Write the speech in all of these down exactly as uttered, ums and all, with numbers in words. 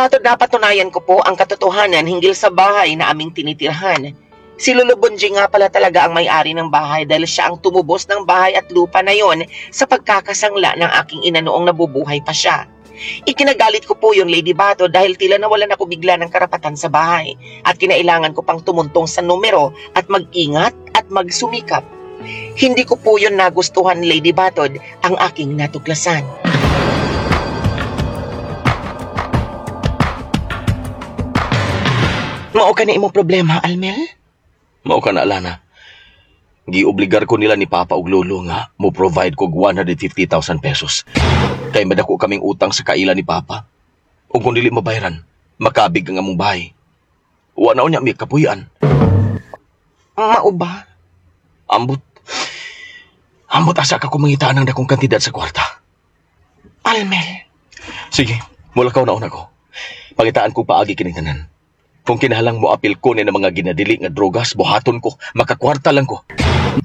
Batod, napatunayan ko po ang katotohanan hinggil sa bahay na aming tinitirhan. Si Lolo Bonjing nga pala talaga ang may-ari ng bahay dahil siya ang tumubos ng bahay at lupa na yon sa pagkakasangla ng aking ina noong nabubuhay pa siya. Ikinagalit ko po yung Lady Bato dahil tila nawalan ako bigla ng karapatan sa bahay at kinailangan ko pang tumuntong sa numero at mag-ingat at magsumikap. Hindi ko po yun nagustuhan, Lady Batod, ang aking natuklasan. Mao ka na imong problema, Almel? Mao ka na, Alana. Giobligar ko nila ni Papa ug Lolo nga mo provide kog one hundred fifty thousand pesos. Kay madako kaming utang sa kaila ni Papa. Ug kung dili mabayaran, makabig ang among bahay. Wa na unya mi kapuy-an. Mao ba? Ambot. Ambot asa ka kumangitaan ang dakong kantidad sa kwarta. Almel. Sige, mulakaw na una ko. Pangitaan ko paagi kining tanan. Kung kinahalang mo apil ko ni ng mga ginadili nga drogas, buhaton ko, makakwarta lang ko.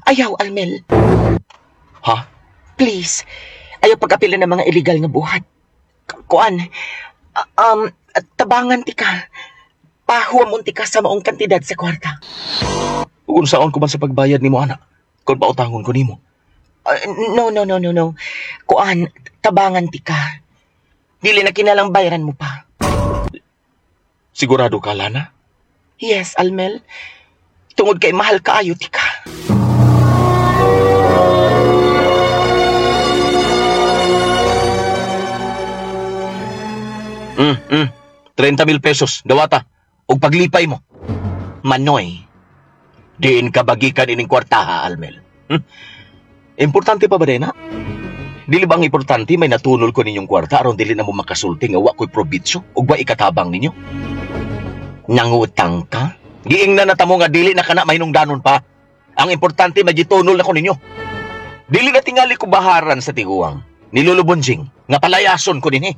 Ayaw, Almel. Ha? Please, ayaw pag-apila ng mga illegal nga buhat. Kuan, um, tabangan ti ka. Pahuwamon ti ka sa maong kantidad sa kwarta. Kung saon ko man sa pagbayad nimo, anak? Kung pautangon ko nimo? Uh, no, no, no, no, no. Kuan, tabangan ti ka. Dili na kinalang bayaran mo pa. Sigurado ka, Lana? Yes, Almel. Tungod kay mahal kaayo ti ka. Mm, mm. trenta mil pesos, dawata. Og paglipay mo. Manoy. Diin ka bagikan ining kwarta, ha, Almel. Hmm? Importante pa ba din, ha? Dili ba ang importante may natunol ko ninyong kwarta aron dili na mo makasulti nga wa ko'y probitso ug wa ikatabang ninyo? Nangutang ka? Giing na natamo nga dili na kana mahinungdanon pa. Ang importante may gitunol na ko ninyo. Dili na tingali ko baharan sa tiguang. Ni Lolo Bonjing, nga palayason ko dinhi.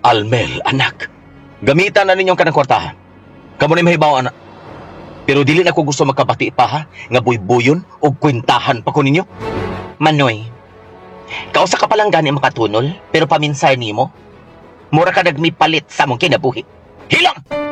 Almel, anak, gamitan na ninyong kanang kwartahan. Kamo ni mahibaw, anak. Pero dili na ko gusto magkabati pa, ha, nga buybuyon o kwentahan pa ko ninyo. Manoy, kausa ka palang gani makatunol, pero paminsar nimo, mura ka nagmipalit sa mong kinabuhi. Hilang!